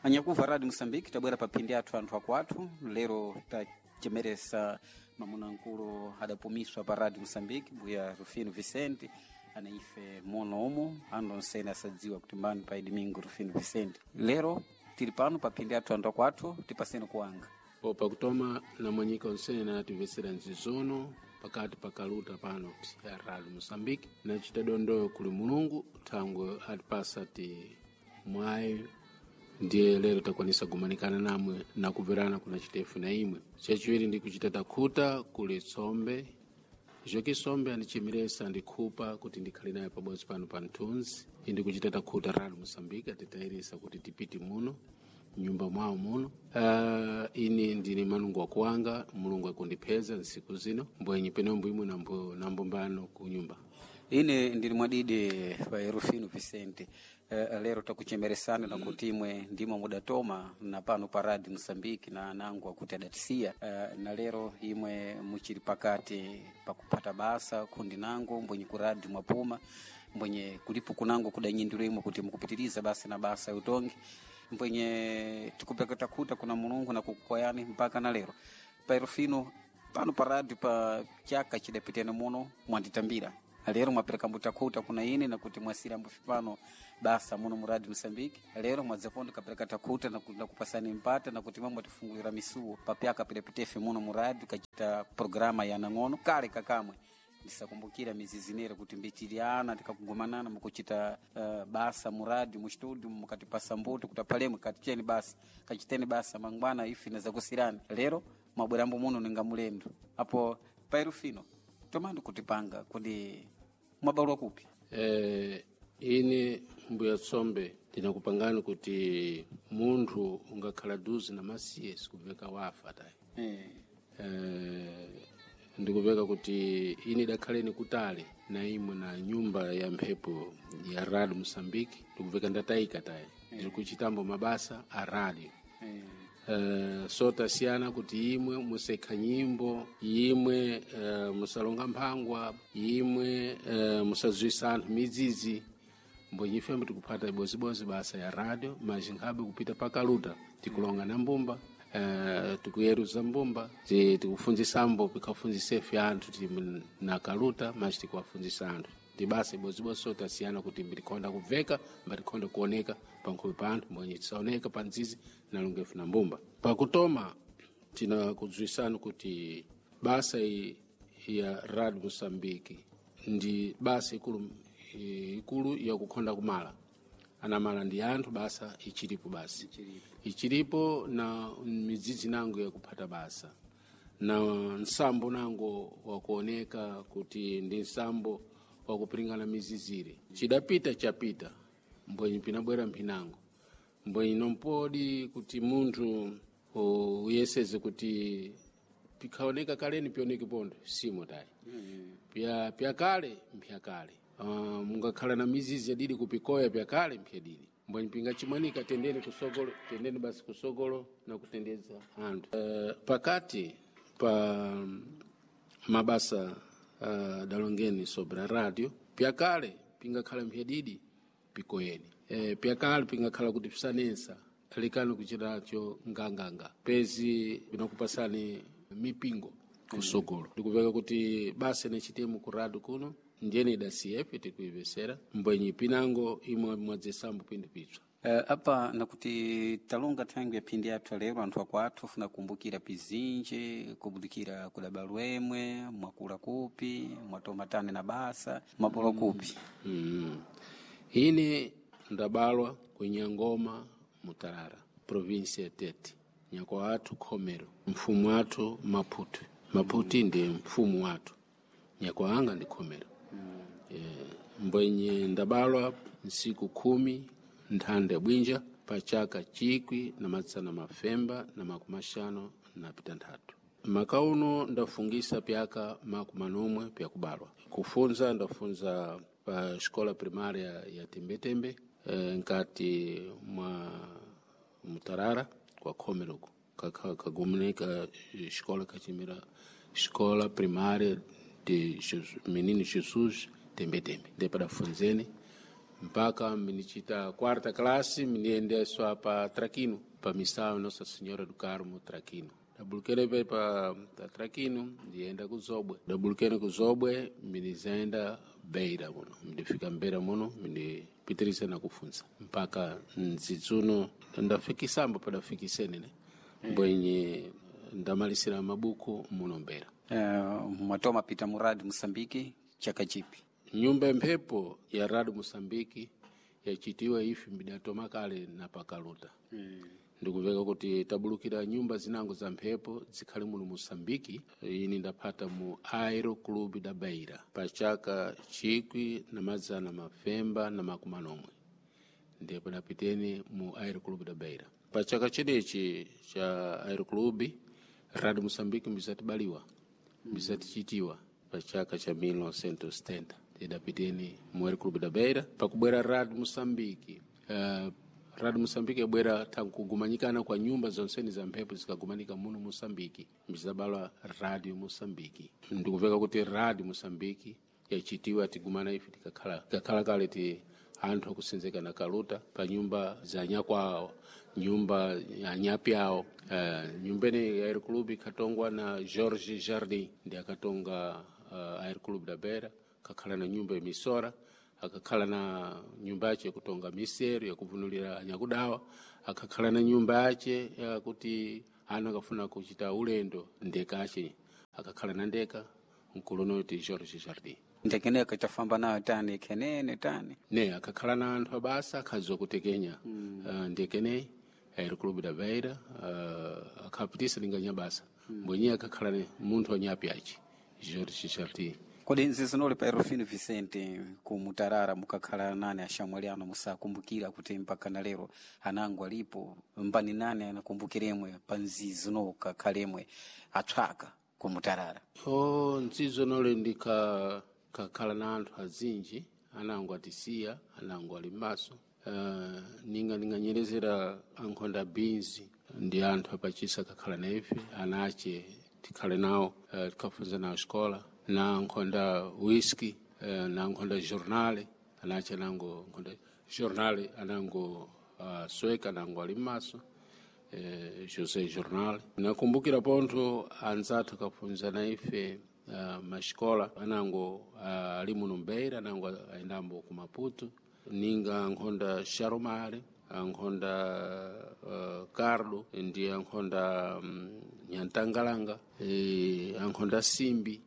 Anyakuva Radio Moçambique tabwera pa phindi athu anthu akwathu lero tachemeresa mamuna nkulu adapumiswa pa Radio Moçambique mbuya Rufino Vicente ana ife mono umu andu onsene asadziwa kuti mbani pa Domingo Rufino Vicente. Lero tili pano pa phindi athu anthu akwathu tipaseni kuwanga. Po pakutoma namwanyika onsene natimvetsera nzizono pakati pakaluta pano ya Radio Moçambique nachita dondoyo kuli Mulungu thangwe atipasa ti mwayi ndiye lero takwanisa kumanikana namwe nakumverana kuna chitefu na imwe. Chachiwiri ndi kuchita takhuta kuli tsombe Joki Sombe andichemeresa andikhupa kuti ndikhale naye pabodzi pano pa mthunzi. Indi kuchita takhuta Radio Moçambique atitayirisa kuti tipite muno nyumba mwawo muno. Ini ndine manungu wakuwanga, Mulungu akundipeza nsiku zino mbwenyi penombo imwe nambo nambombano kunyumba. Ine ndili mwadidi pa Rufino Vicente. Lero takuchemeresana na kuti imwe ndimo mudatoma na pano pa Radio Moçambique na anangu akuti adatisiya. Na lero imwe muchili pakati pakupata basa kundi nangu mbwenye ku radio mwapuma mbwenye kulipo kunangu kudanyindiro imwe kuti mukupitiriza basa na basa utongi mbwenye tikupeka takuta kuna Mulungu na kukukoyani mpaka na lero pa Rufino pano pa radio pa chaka chidapitene muno mwanditambira lero mwapereka mbutakuta kuna ine nakuti mwasira mbufi pano basa muno mu Radio Moçambique. Lero mwadzapondo kapereka takuta na kupasani mpata nakuti mwe mwatifungulira misuwo papyaka pilapitefe muno mu radio kachita programa ya nang'ono kale kakamwe ndisakumbukira mizizinere kuti mbichiliana tikakugumanana mukuchita basa mu radio mu studio mukatipasa mbuto kuti apalemwe katicheni basa kachiteni basa mangwana ife nazakusirani. Lero mwabwerambo muno ninga mulendo apo pairufino tomandi kutipanga kuti mwabalwa kupi. Ine mbuya tsombe ndinakupangani kuti munthu ungakhala duzi na masiye sikubveka wafa tayi. Ndikupeka kuti ine idakhaleni kutali na imwe na nyumba ya mphepo ya Radio Moçambique ndikupeka ndatayika tayi ndiri kuchitambo mabasa a radio. So tasiyana kuti imwe musekha nyimbo imwe, musalonga mphangwa imwe, musazwisa anthu midzidzi mbwenye ifembe tikuphata ibozibodzi basa ya radio maji nkhabe kupita pakaluta tikulonga na mbumba, tikuyeruza mbumba tikufunzisambo pikhafunzisefe anthu ti na kaluta maji tikuwafunzisa anthu ndi basa ibozibodzi. So tasiyana kuti mbitikhonda kubveka mbatikhonda kuoneka pankhope pa anthu mbwenye tisaoneka pa nzizi nalongefu na mbumba. Pakutoma tinakudzwisani kuti basa iyi ya Radio Moçambique ndi basa ikulu ikulu yakukhonda kumala anamala ndi anthu basa ichilipo basi ichilipo na midzidzi nango yakuphata basa na nsambo nango wakuoneka kuti ndi nsambo wakupiringana mizizire. Chidapita chapita mbwenyi pinabwera mphinango mbwenyi nompodi kuti munthu uyeseze kuti pikhaoneka kaleni pioneke pondo simo tayi. Pyakale mphyakale. Mungakhala na mizizi yadidi kupikoya pyakale mphyadidi mbwenyi pingachimwanika tendeni kusogolo tendeni basi kusogolo na kutendeza anthu. Pakati pa mabasa dalongeni sobre a radio pyakale pingakhala mphyadidi pikoyeni. Pyakale pingakhala kuti pisanensa likani kuchitacho nganganga pezi pinakupasani mipingo kusogolo. Ndikupeka kuti basa nechitemo ku radio kuno ndiyeni idasiyefe tikuivesera mbwenyi pinango imwe mwadzesambo pindu pitswa. Apa nakuti talonga thangwi ya phindi athu lero anthu akwathu funa kumbukira pizinji kubudikira kudabalwemwe mwakula kupi mwatomatane na basa mwabolwa kupi. Ine ndabalwa kunyangoma Mutarara provinsi ya Tete nyako athu Khomero mfumu athu Maputi Maputi ndi mfumu wathu nyako anga ndi Khomero. Mbwenye ndabalwa nsiku 10 nthanda bwinja pa chaka 1956. Maka uno ndafungisa pyaka 40 pyakubalwa. Kufunza ndafunza pa escola primária ya Tembetembe, nkati mwa Mutarara kwa Khomeroko kagumuneka escola kachimira escola primária de Jesus, Menino Jesus Tembetembe ndipo dafunzeni. Mpaka minichita quarta classe miniendeswa pa Traquino, pa missão Nossa Senhora do Carmo Traquino. Dabulukene pe pa Traquino ndienda ku Zobwe. Dabulukene ku Zobwe minizenda Beira muno. Ndifika Beira muno mindipitirisa na kufunza mpaka nzidzuno ndafikisambo padafikisene ne mbwenye ndamalisira mabuku muno Beira. Mwatoma pita muradi Mosambiki chaka chipi? Nyumba mphepo ya Rado Mosambiki yachitiwa ifi mbidatoma kale na pakaluta. Ndikuveka kuti tabulukira nyumba zinango za mphepo zikhale muno Mosambiki. Ini ndapata mu Aero Club da Beira pa chaka 1971 ndipo dapiteni mu Aero Club da Beira. Pa chaka chenechi cha Aero Club Rado Mosambiki mbisatibaliwa mbisatichitiwa pa chaka cha 1970 tidapiteni mu Aero Club da Beira. Pakubwera Rado Mosambiki Rado Mosambiki yabwera tankugumanyikana kwa nyumba zonseni za mphepo zikagumanika muno Mosambiki mbizabalwa Radio Mosambiki. Ndikuveka kuti Radio Mosambiki yachitiwa tigumana ife tikakhala kale ti anthu akusenzeka na kaluta pa nyumba za nyakwawo, nyumba ya nyapi awo. Nyumba ine ya Aero Club ikatongwa na George Jardim, ndi akatonga Aero Club da Beira, kakhala na nyumba ya misora, akakhala na nyumba yace yakutonga misero yakuvunulira anyakudawa, akakhala na nyumba yace yakuti anu akafuna kuchita ulendo ndeka ace akakhala na ndeka mkulonoti George Jardim. Ndekeneko tafamba nayo tani kenene tani ne akakhala na anthu abasa akhadziwa kutekenya ndekene Aero Club da Beira akhapitisa linganya basa mbwenye akakhala ne munthu wanyapi aci George Jardim. Kodi nzizinoli pa Erofino Vicente ku Mutarara mukakhala nane ashamwali ano musakumbukira kuti mpaka na lero anango alipo mbani nane anakumbukiremwe pa nzizino kakhalemwe atswaka ku Mutarara? O nzizo nole ndikakhala na anthu azinji anango atisiya anango ali m'maso. Ninga ninganyerezera ankhonda binzi ndi anthu apachisa kakhala na ife anache tikhale nawo tikhafunza nawo xikola na nkhonda whisky na nkhonda journale anache anango nkhonda journale anango sweka anango ali m'maso José Jornal. Nakumbukira pontho anzathu akafunza na ife maxikola anango ali muno Beira anango ayendambo ku Maputo ninga nkhonda Sharomare ankhonda Carlo ndi ankhonda Nyantangalanga ankhonda Simbi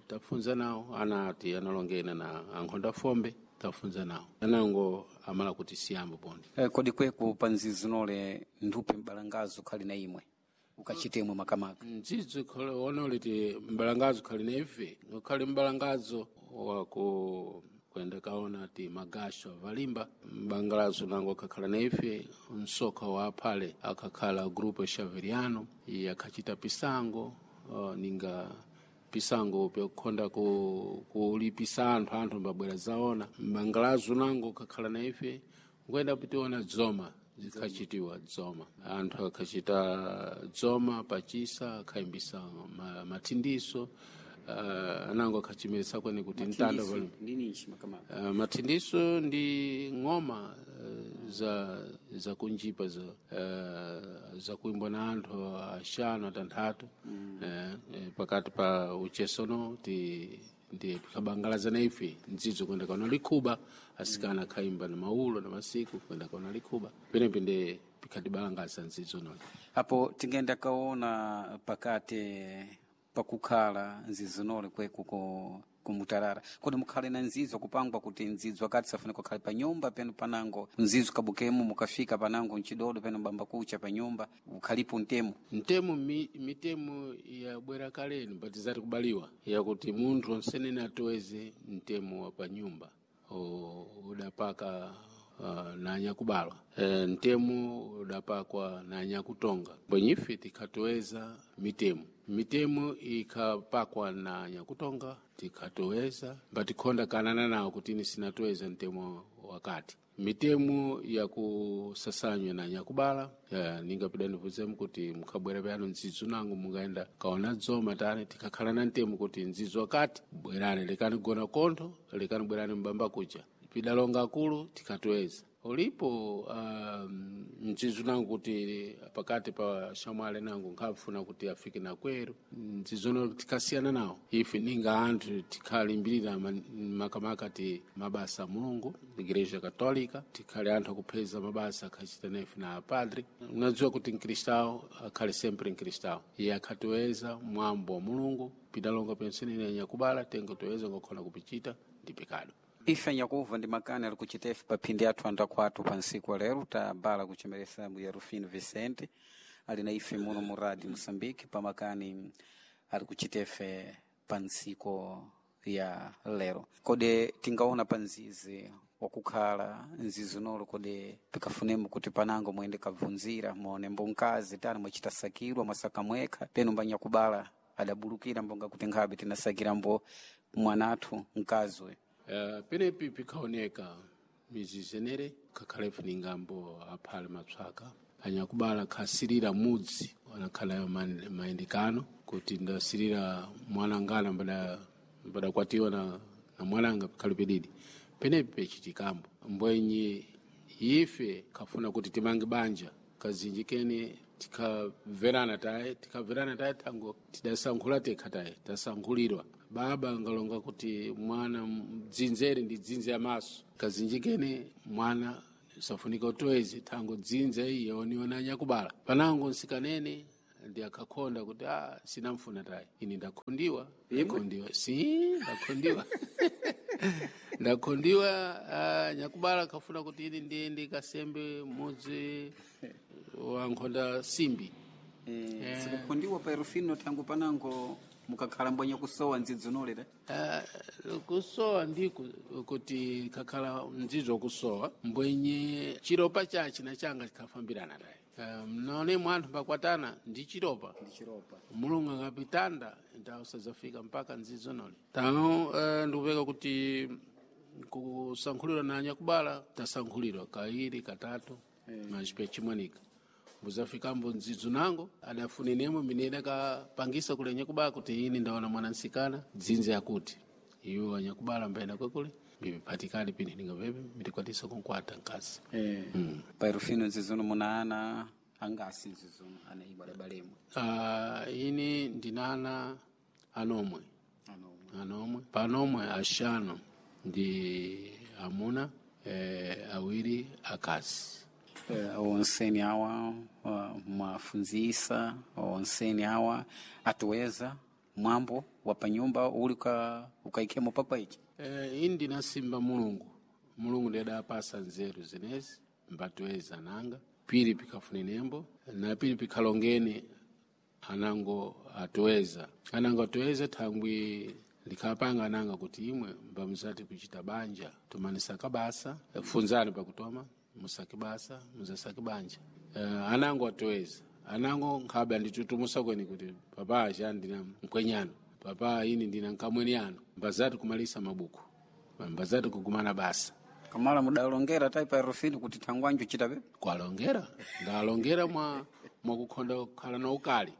tafunza nawo anati analongena na ankhonda Fombe tafunza nawo anango amala kuti siyambo pontho. Kodi kweku pa nzizinole nduphe mbalangazo khali na imwe ukachitemwe makamaka? Nzidzo onole ti mbalangazo khali na ife ukhali mbalangazo waku kwenda kaona ti magasho avalimba mbangalazo nango akakhala na ife msoka wa aphale akakhala grupo Xaveriano iye akhachita pisango ninga pisango pyakukhonda kulipisa anthu mbabwera zaona mbangalazo nango akakhala na ife nkwenda pitiona dzoma zikhachitiwa dzoma anthu akhachita dzoma pachisa akhayimbisa mathindiso anango akhachimirisa kwene kuti mtanda mathindiso ndi ng'oma za kunjipa za kuimbwa na anthu axanu atanthatu pakati pa uchesono ti ndi pikabangalaza na ife ndzidzo kwenda kaona likhuba asikana akhayimba na maulo na masiku kwenda kaona likhuba penepe ndi pikhatibalangaza ndzidzo noli apo tingenda kaona pakati pakukhala nzizinole kweku kumutarara kodi mukhale na nzidzo kupangwa kuti nzidzo akati safuna kukhale pa nyumba penu panango nzidzo kabukemo mukafika panango mchidodo penu bamba kucha pa nyumba ukhalipo ntemo ntemo mitemo yabwera kaleni but zati kubaliwa yakuti munthu onsenene atoweze mtemo wa pa nyumba udapaka na anyakubalwa ntemo udapakwa na anyakutonga bwenyife tikhatoweza mitemo mitemo ikhapakwa na anyakutonga tikhatoweza mbatikhonda kanana nawo kuti ini sinatoweza mtemo wakati mitemo yakusasanywa na anyakubala ningapida ndivuzemu kuti mukhabwera pano ndzidzo nangu mungaenda kaona dzoma tani tikakhala na ntemo kuti ndzidzo wakati bwerani lekani gona kontho lekani bwerani mbamba kucha. Pidalonga akulu tikatweza ulipo mdzidzo nangu kuti pakati pa shamwali nangu nkhafuna kuti afike na kweru mdzizono tikasiyana nawo ife ninga anthu tikhalimbirira makamaka ti mabasa a Mulungu, Igreja Católica, tikhale anthu akupheza mabasa akhachita nefe na apadre. Unadziwa kuti mkristao akhale sempre mkristao, iye akhatiweza mwambo wa Mulungu. Pidalonga penseni anyakubala tengo toweza ngokhona kupichita ndi pekado. Ife nyakuva ndi makani ali kuchitefe pa phindi athu andakwathu pa nsiku wa lero tabala kuchemeresa mbuya Rufino Vicente ali na ife muno mu Radio Moçambique pa makani ali kuchitefe pa ntsiku ya lero. Kodi tingaona pa nzizi wakukhala nzizi nolo, kodi pikafunemo kuti panango mwende kabvunzira muone mbonkazi tani mwachita sakirwa mwasaka mwekha penu mbanyakubala adabulukira mbonga kuti nkhabe tinasakira mbo mwanathu mkazi uyu. Penepi pikaoneka mizizenere kakhale ngambo aphale mapsaka anyakubala khasirira mudzi anakhala mayendekano kuti ndasirira mwanangana mbadakwatiwa na mwananga pikhale pedidi penepi pechitikambo mbwenyi ife khafuna kuti timange banja kazinji kene tikamverana taye tikamverana taye tango tidasankhula tekha taye tasankhulirwa baba ngalonga kuti mwana dzinzere ndi dzinze ya maso kazinji kene mwana safunika utwezi tango dzinze iye oniona anyakubala panango nsikanene ndi akakhonda kuti a sinamfuna taye ine ndakhondiwa ndakhondiwa si ndakhondiwa ndakhondiwa nyakubala kafuna kuti ine ndiyende kasembe mudzi wa nkhonda simbi. Sikukhondiwa pa Rufino tangu panango mukakhala mbwenya kusowa ndzidzo nolera. Kusowa ndiku kuti kakhala mdzidzo kusowa mbwenye chiropa chachi na changa chikhafambirana taye. Mnone mwanthu mbakwatana ndi chiropa ndi chiropa Mulungu akapitanda ndawusadzafika mpaka ndzidzo nole tano. Ndikupeka kuti kusankhulirwa na anyakubala tasankhulirwa kairi katatu machipe chimwanika mbuzafikambo ndzidzo nango adafunenemo mine idakapangisa kule anyakubala kuti ini ndaona mwana nsikana dzinze yakuti iwo anyakubala mbaenda kwekule mbiphatikani pine ndingapepe mitikwatisa kunkwata mkazi. Pa Rufino nzizono muna ana angasi nzizono ana ibwa adabalemo? Ini ndinana anomwe. Anomwe. Anomwe panomwe axanu ndi amuna, awiri akazi. Onseni awa mwafunzisa onseni awa atuweza mwambo wa panyumba uli ukaikemo pakwa ichi? Ini ndinasimba Mulungu, Mulungu ndiye adapasa nzeru zenezi mbatiweza nanga pili pikafune nembo na pili pikhalongene anango atuweza anango atuweza thangwi likhapanga ananga kuti imwe mbamuzati kuchita banja tumanisaka basa funzani pakutoma musake basa muzasake banja. Anango atuweza anango nkhabe anditutumusa kweni kuti papa acha ndina mkwenyano papa ini ndina nkamweni ano mbazati kumalisa mabuku mbazati kugumana basa. Kamala mudalongera tai pa Rufino kuti thangwanju chita pepe? Kwalongera ndalongera mwakukhonda kukhala na ukali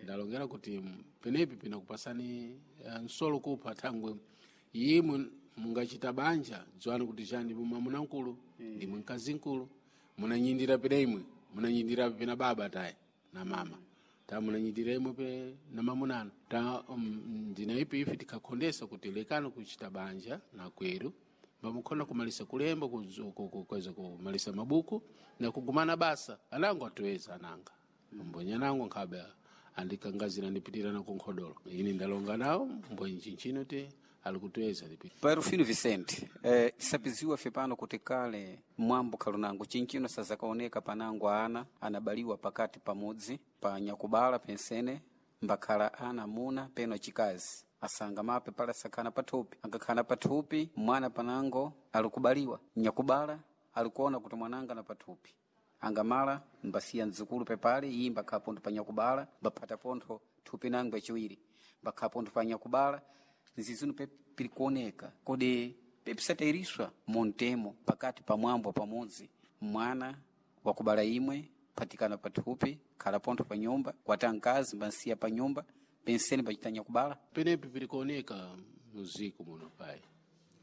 ndalongera kuti penepi pinakupasani nsolo kupha thangwe imwe mungachita banja dziwani kuti chani mwamuna mkulu ndimwe mkazi mkulu munanyindira pena imwe munanyindira pena baba taye na mama ta munanyindira imwe pe na mamunano ta ndina ipi ife tikakhondesa kuti lekani kuchita banja na kweru bamukhona kumalisa kulemba kuweza kumalisa mabuku na kugumana basa anango atuweza ananga mbonye anango nkhabe andikangazira ndipitirana kunkhodolo ini ndalonga nawo mbonye chinchino te alikutuweza lipi. Pa Rufino Vicente, tisapiziwa fe pano kuti kale mwambo khalunango chinchino sazakaoneka panango ana anabaliwa pakati pamudzi pa nyakubala pensene mbakhala ana muna peno chikazi asanga mape pala sakhana pathupi angakhana pathupi mwana panango alikubaliwa nyakubala alikuona kuti mwananga na pathupi angamala mbasiya mdzukulu pepale iyi mbakhala pontho pa nyakubala mbaphata pontho thupi nango yachiwiri mbakhala pontho pa nyakubala nzizino pirikuoneka kodi pepisatairiswa montemo pakati pa mwambo pamodzi mwana wakubala imwe patikana pathupi khala pontho pa nyumba kwata mkazi mbansiya pa nyumba penseni pachita nyakubala. Penepi pirikuoneka muziko muno pai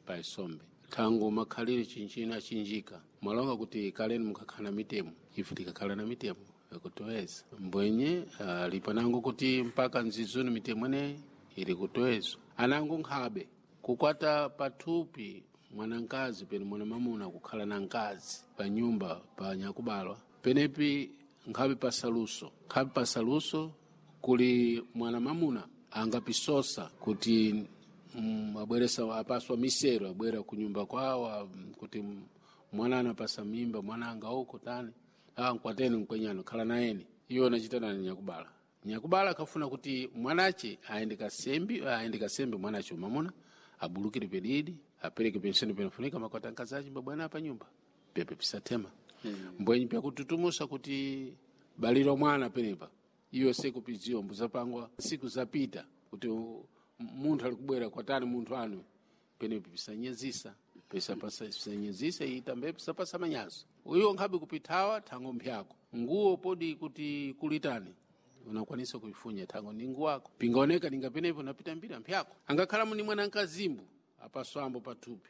pai sombe. Thango makhalire chinchino achinjika mwalonga kuti kaleni mukakhala na mitemo, ife tikakhala na mitemo yakutoweza mbwenye lipanango kuti mpaka nzizuni mitemo ineyi ili kutowezwa. Anango nkhabe kukwata pathupi mwanankazi pene mwana mamuna kukhala na nkazi pa nyumba pa nyakubalwa penepi nkhabe pasaluso, nkhabe pasaluso kuli mwana mamuna angapisosa kuti abweresa apaswa misero abwera kunyumba kwawo kuti mwana anapasa mimba mwana anga uko tani nkwateni mkwenyano khala nayeni. Iwo anachitana na nyakubala. Nyakubala akafuna kuti mwanache aende kasembi, aende kasembi mwanache mamuna abulukire pedidi apereke penseni penafunika makwata nkazachi mbabwana pa nyumba pepe pisatema. Mbwenyi pyakututumusa kuti baliro mwana penepa iyo sikupidziwa mbuzapangwa siku zapita kuti munthu alikubwera kwatani munthu anu penepa pisanyezisa pisanyezisa itambe pisapasa manyazo uyo nkhabe kupithawa thango mphyako nguwo podi kuti kulitani unakwanisa kuifunya thango ni nguwo ako pingaoneka ninga penepo napita mbira mphyako angakhala muni mwana nkazimbu apaswambo pathupi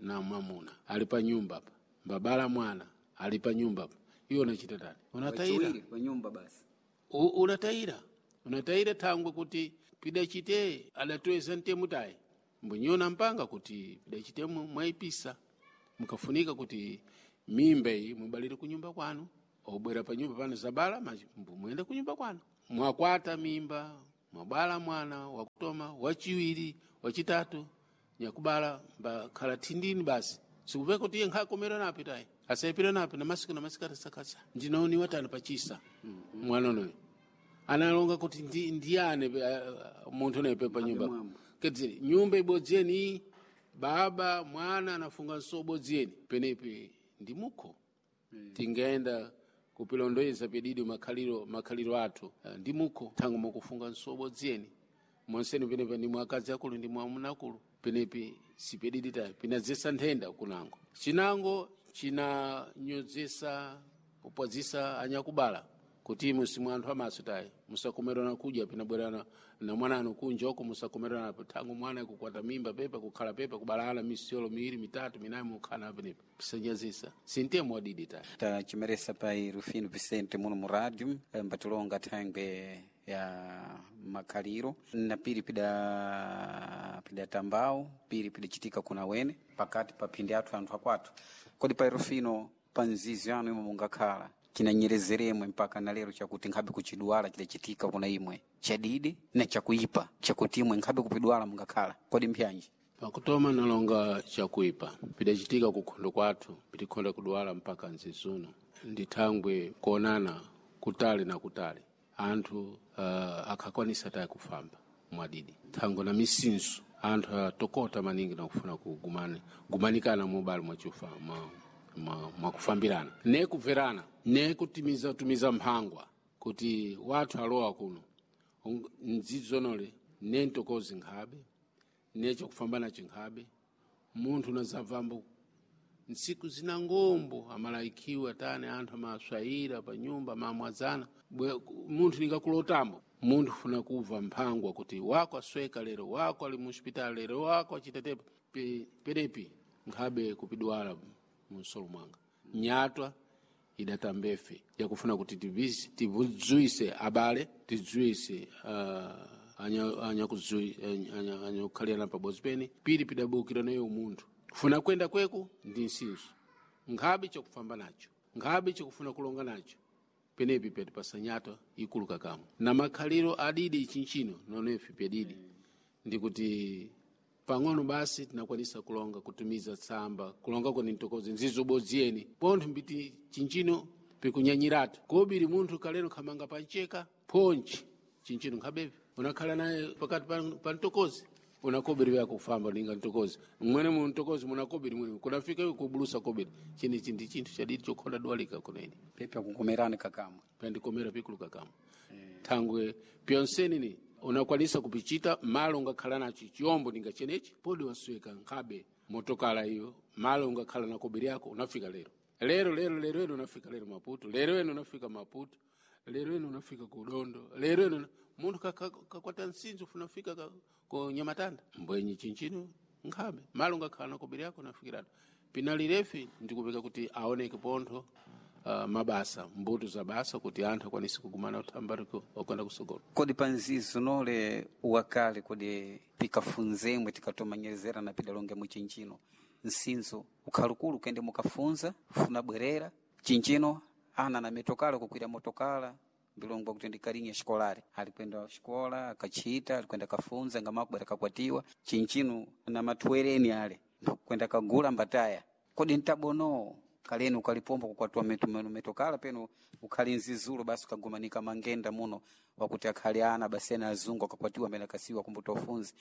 na mwamuna ali pa nyumba apa mbabala mwana ali pa nyumba apa iwo unachita tani unatayira pa nyumba basi. Unatayira unatayira thangwe kuti pidachite adatoweza mtemu tayi mbwenyona mpanga kuti pidachite mwaipisa mukafunika kuti mimba iyi mubalire kunyumba kwanu obwera pa nyumba pano zabala muyende kunyumba kwanu mwakwata mimba mwabala mwana wakutoma wachiwiri wachitatu nyakubala mbakhala thindini basi sikupeka kuti iye nkhakomera napi tayi asayipira napi na masiku na masiku atasakasa ndinaoniwa tani pachisa mwana unoyo analonga kuti ndiyane munthu unoyo pa nyumba kedzere nyumba ibodziyeni baba mwana anafunga nso bodziyeni penepi ndi mukho. Tingaenda kupilondoeza pedidi makhaliro athu ndi mukho thango mukufunga nso bodziyeni monseni penepa ndi mwakazi akulu ndi mwamuna akulu penepi sipedidi tayi pinadzesa nthenda kunango chinango chinanyozesa kupwazisa anyakubala kuti imwe simwe anthu amaso tayi musakomerana kudya pinabwerana na mwananu kunja uko musakomerana thango mwana kukwata mimba pepa kukhala pepa kubalana misiyolo miwiri mitatu minayi mukhala penepa pisanyazisa sintemo wadidi tayi. Tachimeresa pai Rufino Vicente muno mu rádio mbatilonga thangwe ya makhaliro na piri pidatambao piri pidachitika kuna wene pakati pa phindi athu anthu akwathu. Kodi pai Rufino pa nzizi yanu imwe mungakhala chinanyerezeremwe mpaka na lero chakuti nkhabe kuchidwala chidachitika kuna imwe chadidi na chakuipa chakuti imwe nkhabe kupidwala mungakhala kodi mpyanji? Pakutoma nalonga chakuipa pidachitika kukhondo kwathu pitikhonda kudwala mpaka nzizuno ndi thangwe kuonana kutali na kutali anthu akhakwanisa tayi kufamba mwadidi thango na misinso anthu atokota maningi nakufuna kugumanikana mubali mwachufa mwakufambirana ne kubverana ne kutimiza tumiza mphangwa kuti wathu alowa kuno nzidzonole ne ntokozi nkhabe ne chakufambana chinkhabe munthu unazabvambo ntsiku zina ngombo amalaikiwa tani anthu amaswayira pa nyumba amamwazana munthu ningakulotambo munthu funa kubva mphangwa kuti wako asweka lero wako ali muhospitali lero wako achitetepa penepi nkhabe kupidwala munsolo mwanga nyatwa idatambefe yakufuna kuti tivudzwise abale tidzwise anyakukhalirana pabodzi pene pili pidabukira nayo munthu funa kwenda kweku ndi nsinso nkhabe chakufamba nacho nkhabe chakufuna kulonga nacho penepi petipasa nyatwa ikulu kakamwe na makhaliro adidi chinchino nonefi pedidi ndikuti pang'ono basi tinakwanisa kulonga kutumiza tsamba kulonga kweni ntokozi nzizobodziyeni pontho mbiti chinchino pikunyanyiratu kobiri munthu kaleno khamanga pancheka phonchi chinchino nkhabevi unakhala naye pakati pa ntokozi unakobiri vyako kufamba ninga ntokozi mwene mu ntokozi munakobiri mwene kunafika iwe kubulusa kobiri chinichi ndi chinthu chadidi chokhonda dwalika kunene pepe akukomerani kakamwe pandikomera pikulu kakamwe thangwe pyonseni ni unakwanisa kupichita malo ungakhala nacho chiyombo ninga chenechi podi wasweka nkhabe motokala iyo malo ungakhala na kobiri yako unafika lero lero lero lero eno unafika lero Maputo lero eno unafika Maputo lero eno unafika kudondo lero eno munthu kakwata nsinzo funafika ku Nyamatanda mbwenyi chinchino Nkhabe malo ngakhala na kobiri yako nafikiratu pinalirefi ndikupeka kuti aoneke pontho mabasa mbuto za basa kuti anthu akwanise kugumana uthambariko wakwenda kusogolo. Kodi panzizo nole wakale kodi pikafunzemwe tikatomanyerezera na pidalonge muchinchino nsinzo ukhalukulu kende mukafunza funa bwerera chinchino ana na mitokala kukwira motokala mbilongwa kuti ndikalinya xikolari alikwenda xikola akachita alikwenda kafunza ngamakubwera kakwatiwa chinchino na matwereni ale kwenda kagula mbataya. Kodi ntabono kaleni ukalipomba kukwatiwa metokala peno ukhali nzizulo basi ukagumanika mangenda muno wakuti akhali ana basi ena azungu akakwatiwa amene akasiwa kumbuta ufunzi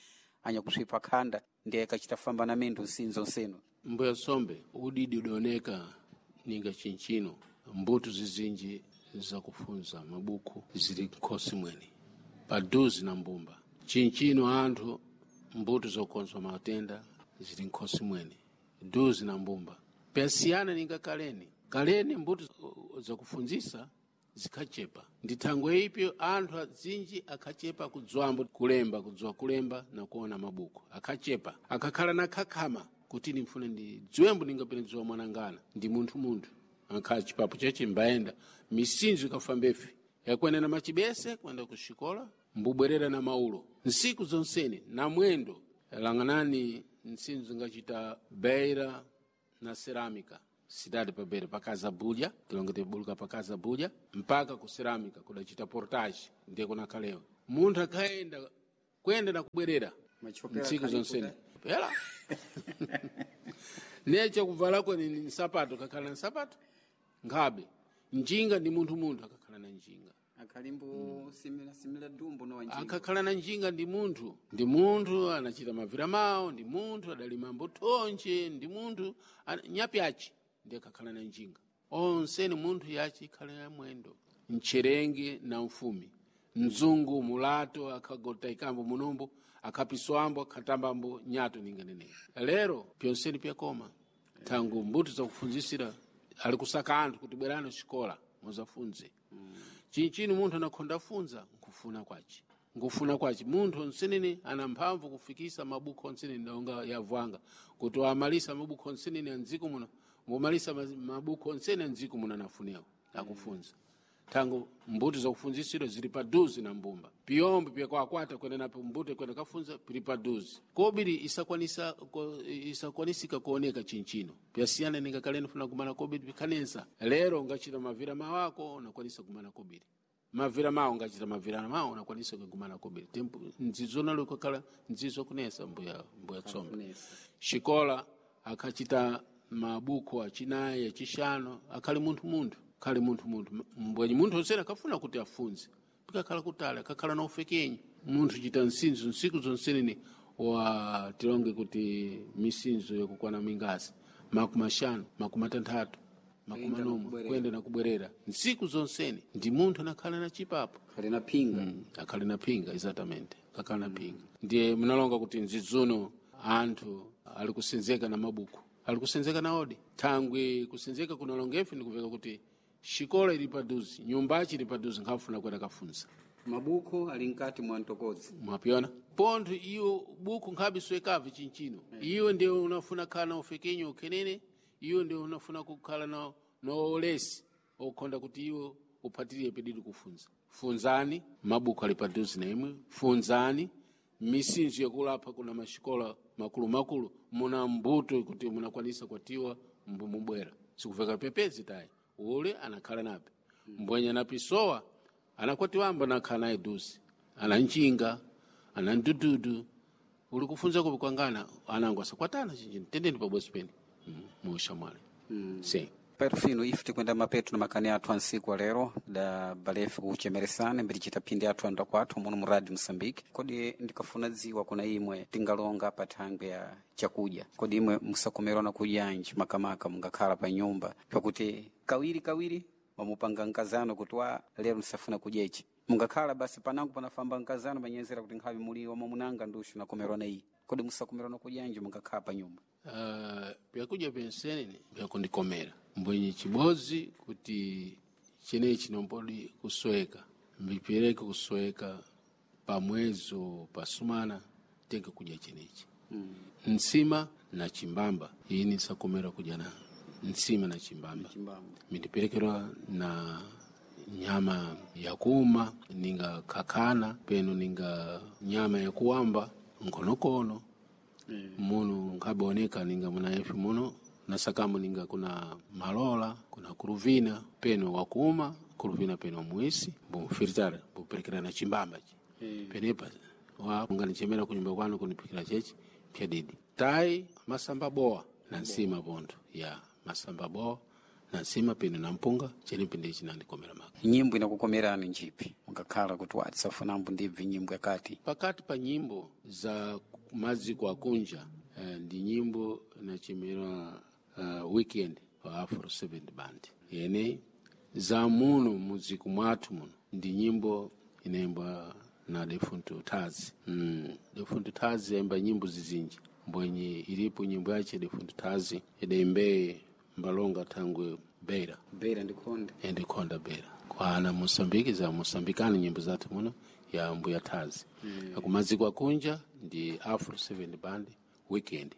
anya kuswipa khanda ndiye akachita famba na mindu nsinzo nsino. Mbuya sombe udidi udaoneka ninga chinchino mbuto zizinji zakufunza mabuku zili nkhosi mwene paduzi na mbumba chinchino anthu mbuto zokonzwa matenda zili nkhosi mwene duzi na mbumba pyasiyana ninga kaleni kaleni mbuto zakufunzisa zikhachepa ndi thangwe ipyo anthu azinji akhachepa kudzwambo kulemba kudziwa kulemba na kuona mabuku akhachepa akakhala na khakhama kuti ndimfune ndidziwembo ndingapene dziwa mwanangana ndi munthu munthu ankhala chipapo cheche mbayenda misinzo ikafambefe yakwenda na machibese kwenda kuxikola mbubwerera na maulo nsiku zonsene na mwendo lang'anani nsinzo ingachita beira na cerâmica cidade pa beira pa casa bulha tilonge tibuluka pa casa bulha mpaka ku cerâmica kudachita portage ndiye kunakhalewa munthu akhaenda kwenda na kubwerera ntsiku zonsene pela neche kuvalako ni nsapato kakhala na nsapato nkhabe njinga ndi munthu munthu akakhala na njinga akhalimbo simila simila dumbo no wanjinga akakhala na njinga ndi munthu ndi munthu anachita mavira mawo ndi munthu adalima mbuthonje ndi munthu nyapyachi ndi akakhala na njinga onseni munthu yachi ikhala ya mwendo mcherenge na mfumi mzungu mulato akhagota ikambo munombo akhapiswambo akhatambambo nyato ninganeneyo lero pyonseni pyakoma thangu mbuto zakufunzisira ali kusaka anthu kuti bwerani xikola muzafunze chinchini munthu anakhonda funza nkufuna kwace nkufuna kwace munthu onsenene ana mphamvu kufikisa mabuku onsenene ndonga yavwanga kuti wamalisa mabuku onsenene andziko muno mumalisa mabuku onsene andziko muno anafunewo akufunza thangu mbuto zakufunzisiro zili paduzi na mbumba piyombe pyakwakwata kwenda napo mbuto kwenda kafunza pili paduzi kobiri isakwanisa isakwanisika kuoneka chinchino pyasiyana ninga kaleni funa kumana kobiri pikhanensa lero ungachita mavira mawako unakwanisa kumana kobiri mavira mawo ungachita mavira mawo unakwanisa kumana kobiri tempo nzizo nalo kukhala nzizo kunesa mbuya mbuya tsombe xikola akhachita mabuku achinayi achixano akhali munthu munthu khali munthu munthu mbwenyi munthu onsene akafuna kuti afunze pikakhala kutali akakhala na ufekenyi munthu chita nsinzo nsiku zonsenene wa tilonge kuti misinzo yakukwana mingasi makumi axanu makumi atanthatu makumi anomwe kuyenda na kubwerera nsiku zonsene ndi munthu anakhala na chipapo akhali na phinga akhali na phinga exatamente akakhala na phinga ndiye munalonga kuti nzidzuno anthu ali kusenzeka na mabuku ali kusenzeka na odi thangwi kusenzeka kunalongefe ndikuveka kuti xikola ili paduzi nyumbachi ili paduzi nkhafuna kwenda kafunza mabuku ali mkati mwa mtokodzi mwapyona pontho iwo buku nkhabe swekabve chinchino iwe ndiye unafuna khala na ufekenyo ukhenene iwe ndiye unafuna kukhala na noolesi okhonda kuti iwe uphatirire pedidi kufunza funzani mabuku ali paduzi na imwe funzani misinzo yakulapha kuna maxikola makulumakulu muna mbuto kuti munakwanisa kwatiwa mbumubwera sikuveka pepezi tayi ule anakhala nape mbwenye anapisowa anakwatiwamba anakhala naye duzi ana njinga ana ndududu uli kufunza kupi kwangana anangu asakwatana chinjini tendeni pabwezi pene muushamwali sim perfino ife tikwenda mapeto na makani athu ansiku alero da balefu kuchemeresana mbirichita phindi athu anda kwathu muno mu radio Mosambike. Kodi ndikafuna dziwa kuna imwe tingalonga pa thangwe ya chakudya, kodi imwe musakomerana kudyanji makamaka mungakhala pa nyumba pakuti kawiri kawiri mamupanga nkazano kuti wa lero msafuna kudya ichi mungakhala basi panango panafamba nkazano manyenzera kuti nkhavi muli wamunanga ndushu nakomerana iyi kodi musakomerana kudyanji mungakhala pa nyumba. Vyakudya vyensenene vyakundikomera mbwenye chibozi kuti chenechi nombodi kusweka mbipereke kusweka pa mwezi pa sumana tenge kudya chenechi Nsima na chimbamba, ini sakomera kudya na nsima na chimbamba. Chimbamba. Mindiperekerwa na nyama ya kuma ninga kakana peno ninga nyama ya kuwamba nkonokono muno nkaboneka ninga muna efi muno nasakamu ninga kuna malola kuna kuruvina peno wakuma kuruvina peno muisi bumfiritara buperekera na chimbamba chi penepa wa unganichemera kunyumba kwanu kunipikira chechi pyadidi tai masamba boa na nsima pontho ya masamba boa na nsima peno na mpunga chenepi ndiye chinandikomera maka. Nyimbo inakukomerani njipi mukakhala kuti watisafunambo ndibvi nyimbo yakati? Pakati pa nyimbo za maziko akunja ndi nyimbo inachemera Weekend wa Afro 7 Band, yene za muno mudziku mwathu muno ndi nyimbo inaimbwa na Defunto Tazi. Defunto Tazi yaimba nyimbo zizinji mbwenye ilipo nyimbo yache Defunto Tazi idaimbeye mbalonga thangwe Beira. Beira ndikonda. Endikonda Beira kwana Mosambiki za Mosambikani nyimbo zathu muno ya mbuya Tazi. Akumaziko akunja ndi Afro 7 Band Weekend.